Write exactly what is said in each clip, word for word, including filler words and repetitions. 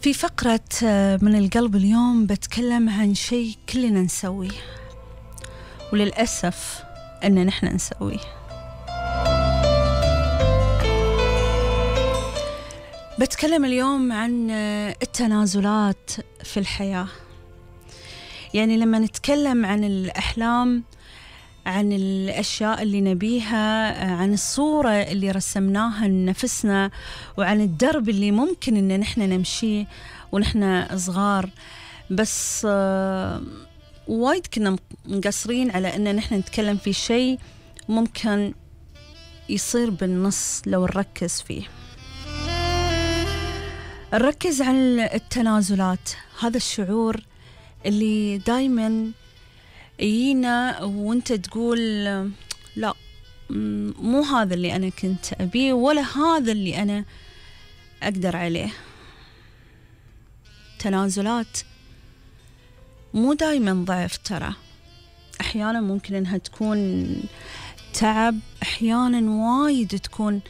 في فقرة من القلب اليوم بتكلم عن شيء كلنا نسويه، وللأسف أن نحن نسويه. بتكلم اليوم عن التنازلات في الحياة. يعني لما نتكلم عن الأحلام، عن الأشياء اللي نبيها، عن الصورة اللي رسمناها لنفسنا، وعن الدرب اللي ممكن إن نحن نمشيه ونحن صغار، بس وايد كنا مقصرين على إن نحن نتكلم في شيء ممكن يصير بالنص لو نركز فيه. نركز على التنازلات، هذا الشعور اللي دايماً يجينا وانت تقول لا، مو هذا اللي أنا كنت أبيه، ولا هذا اللي أنا أقدر عليه. تنازلات مو دايما ضعف، ترى أحيانا ممكن أنها تكون تعب، أحيانا وايد تكون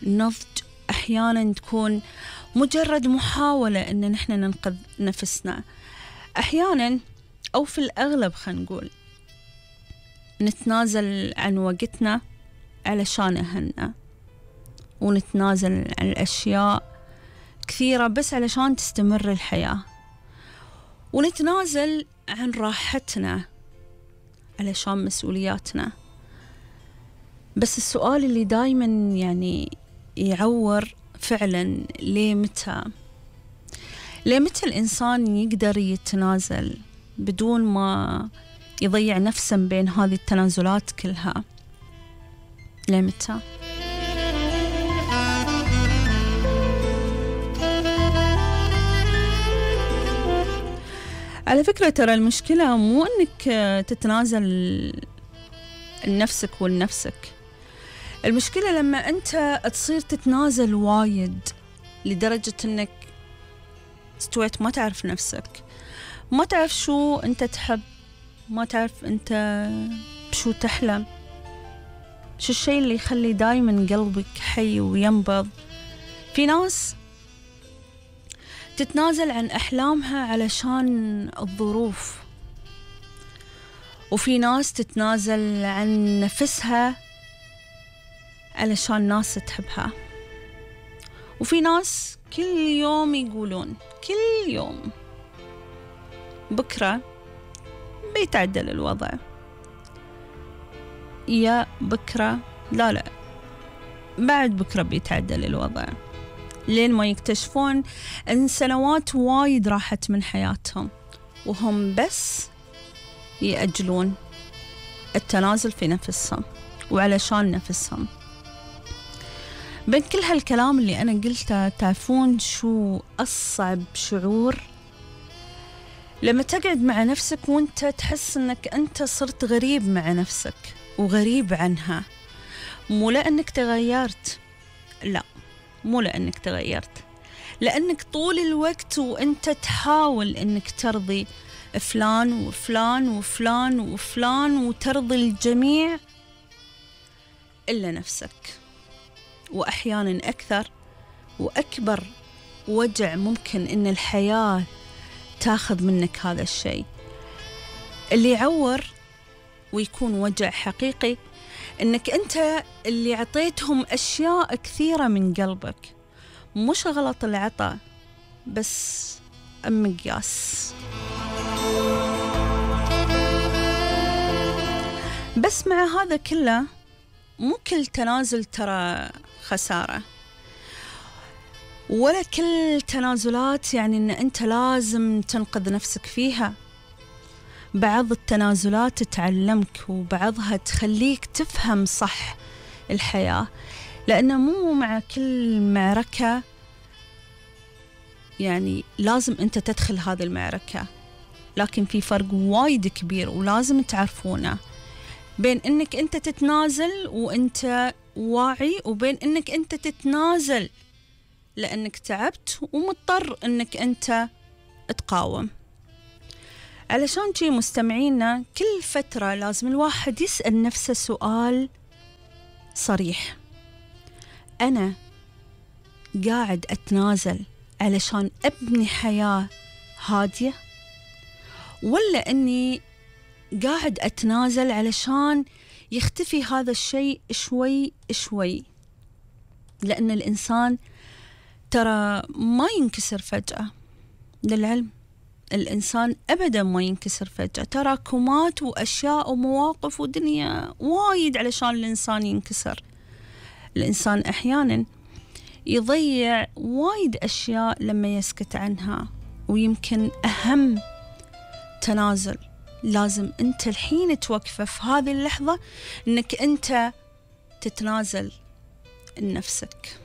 نضج، أحيانا تكون مجرد محاولة أن نحن ننقذ نفسنا، أحيانا أو في الأغلب خلينا نقول نتنازل عن وقتنا علشان أهلنا، ونتنازل عن الأشياء كثيرة بس علشان تستمر الحياة، ونتنازل عن راحتنا علشان مسؤولياتنا. بس السؤال اللي دايما يعني يعور فعلا، ليه متى ليه متى الإنسان يقدر يتنازل بدون ما يضيع نفسه بين هذه التنازلات كلها؟ ليه متى؟ على فكرة ترى المشكلة مو أنك تتنازل لنفسك ولنفسك، المشكلة لما أنت تصير تتنازل وايد لدرجة أنك استويت ما تعرف نفسك، ما تعرف شو أنت تحب، ما تعرف أنت بشو تحلم، شو الشيء اللي يخلي دايما قلبك حي وينبض. في ناس تتنازل عن أحلامها علشان الظروف، وفي ناس تتنازل عن نفسها علشان ناس تحبها، وفي ناس كل يوم يقولون كل يوم بكرة بيتعدل الوضع، يا بكرة لا لا بعد بكرة بيتعدل الوضع، لين ما يكتشفون أن سنوات وايد راحت من حياتهم وهم بس يأجلون التنازل في نفسهم وعلشان نفسهم. بين كل هالكلام اللي أنا قلته، تعرفون شو أصعب شعور؟ لما تقعد مع نفسك وانت تحس انك انت صرت غريب مع نفسك وغريب عنها. مو لأنك تغيرت، لا مو لأنك تغيرت، لأنك طول الوقت وانت تحاول انك ترضي فلان وفلان وفلان وفلان وترضي الجميع إلا نفسك. وأحيانا أكثر وأكبر وجع ممكن إن الحياة تاخذ منك هذا الشيء اللي يعور ويكون وجع حقيقي، إنك أنت اللي عطيتهم أشياء كثيرة من قلبك، مش غلط العطاء بس مقياس. بس مع هذا كله مو كل تنازل ترى خسارة، ولا كل تنازلات يعني أن أنت لازم تنقذ نفسك فيها. بعض التنازلات تعلمك، وبعضها تخليك تفهم صح الحياة، لأنه مو مع كل معركة يعني لازم أنت تدخل هذه المعركة، لكن في فرق وايد كبير ولازم تعرفونه بين أنك أنت تتنازل وأنت واعي، وبين أنك أنت تتنازل لأنك تعبت ومضطر أنك أنت تقاوم. علشان شي مستمعينا، كل فترة لازم الواحد يسأل نفسه سؤال صريح: أنا قاعد أتنازل علشان أبني حياة هادية، ولا أني قاعد أتنازل علشان يختفي هذا الشيء شوي شوي؟ لأن الإنسان ترى ما ينكسر فجأة، للعلم الإنسان أبدا ما ينكسر فجأة، تراكمات وأشياء ومواقف ودنيا وايد علشان الإنسان ينكسر. الإنسان أحيانا يضيع وايد أشياء لما يسكت عنها، ويمكن أهم تنازل لازم أنت الحين توقفه في هذه اللحظة، أنك أنت تتنازل لنفسك.